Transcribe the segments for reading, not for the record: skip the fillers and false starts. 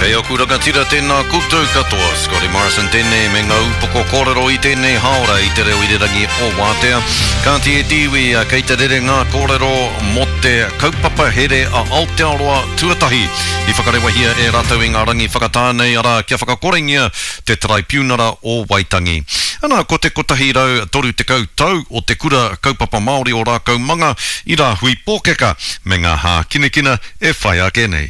Kei aku rangatira tēnā koutou katoa, Scotty Morrison tēnei me ngā upoko kōrero i tēnei hāora i te reo irirangi o Wātea. Kāti e te iwi, kei te rere ngā kōrero mō te kaupapa here a Aotearoa tuatahi i whakarewahia e rātou i ngā rangi whakatā nei, arā, kia whakakorengia te Taraipiunara o Waitangi. Ana, ko te 130 tau o te Kura Kaupapa Māori o Rākaumanga i Rāhui Pōkeka me ngā hākinakina e whai ake nei.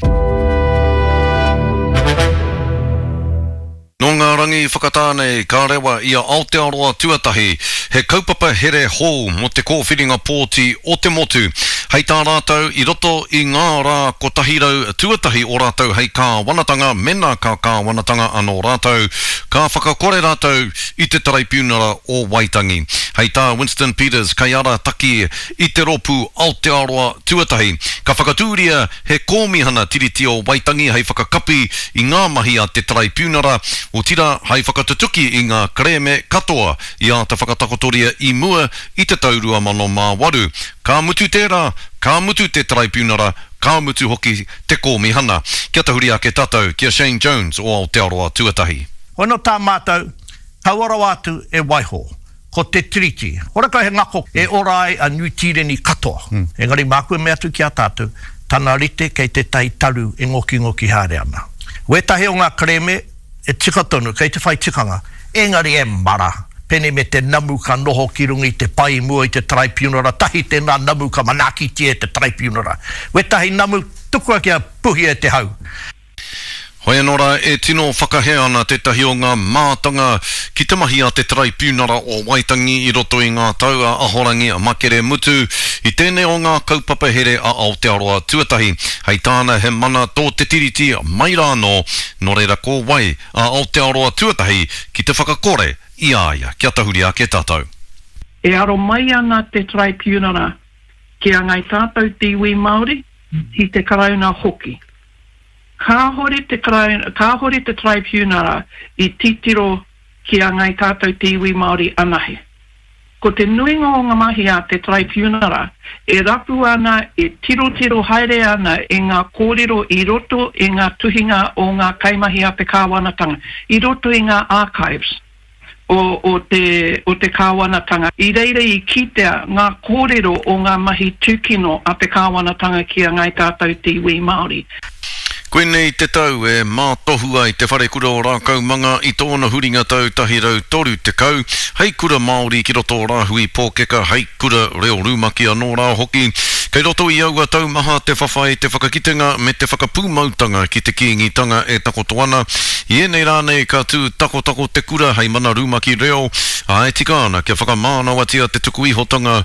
Nō ngā rangi whakatā nei ka rewa i a Aotearoa Tuatahi he kaupapa here hou mō te kōwhiringa pōti o te motu. Hei tā rātou, i roto i ngā rā 100 tuatahi o rātou hei kāwanatanga, mēnā ka kāwanatanga anō rātou, ka whakakore rātou i te Taraipiunara o Waitangi. Hei tā Winston Peters, kaiarataki i te rōpū Aotearoa Tuatahi, ka whakatūria he kōmihana Tiriti o Waitangi hei whakakapi i ngā mahi a te Taraipiunara, otirā hai whakatutuki i ngā kerēme katoa i āta whakatakotoria i mua i te tau 2008. Ka mutu tērā, ka mutu te Taraipiunara, ka mutu hoki te kōmihana. Kia tahuri ake tātou ki a Shane Jones o Aotearoa Tuatahi. Hono tā mātou, kaua rawa atu e waiho. Ko te Tiriti. Horekau he ngako e ora ai a Niu Tīreni katoa. Engari māku e mea atu ki a tātou, tana rite kei tētahi taru e ngokingoki haere ana. Wētahi o ngā kerēme e tika tonu, kei te whai tikanga, engari e mara, pēnei me te namu ka noho ki runga i te pae i mua i te taraipiunara, tahi tēnā namu ka manaakitia e te taraipiunara. Wētahi namu, tukua kia puhia e te hau. Hoi anō rā, e tino whakahē ana tētahi o ngā mātanga ki te mahi a te Taraipiunara o Waitangi i roto i ngā tau a Ahorangi Makere Mutu i tēnei o ngā kaupapa here a Aotearoa Tuatahi. Hei tāna he mana tō te Tiriti mai rā anō, nō reira ko wai a Aotearoa Tuatahi ki te whakakore i a ia? Kia tahuri ake tātou. E aro mai ana te Taraipiunara ki a Ngai Tātou te iwi Māori, ki te Karauna hoki. Kāhore te Karauna, kāhore te Taraipiunara i titiro ki a Ngai Tātou te iwi Māori anahe. Ko te nuinga o ngā mahi a te Taraipiunara e rapu ana, e tirotiro haere ana i ngā kōrero i roto i ngā tuhinga o ngā kaimahi a te kāwanatanga, i roto i ngā archives. o, o te, o te kāwanatanga. I reira i kitea ngā kōrero o ngā mahi tūkino a te kāwanatanga ki a Ngāi Tātou te iwi Māori. Koinei te tau e mātohu ai Te Wharekura o Rākaumanga i tōna huringa tau 130, hei kura Māori ki roto o Rāhui Pōkeka, hei kura reo rumaki anō rā hoki. Kei roto i aua tau maha te whawhai, te whakakitenga me te whakapūmautanga ki te Kīngitanga e takoto ana. I ēnei rā nei ka tū takotako te kura hei mana rumaki reo, ā, e tika ana kia whakamānawatia te tuku ihotanga.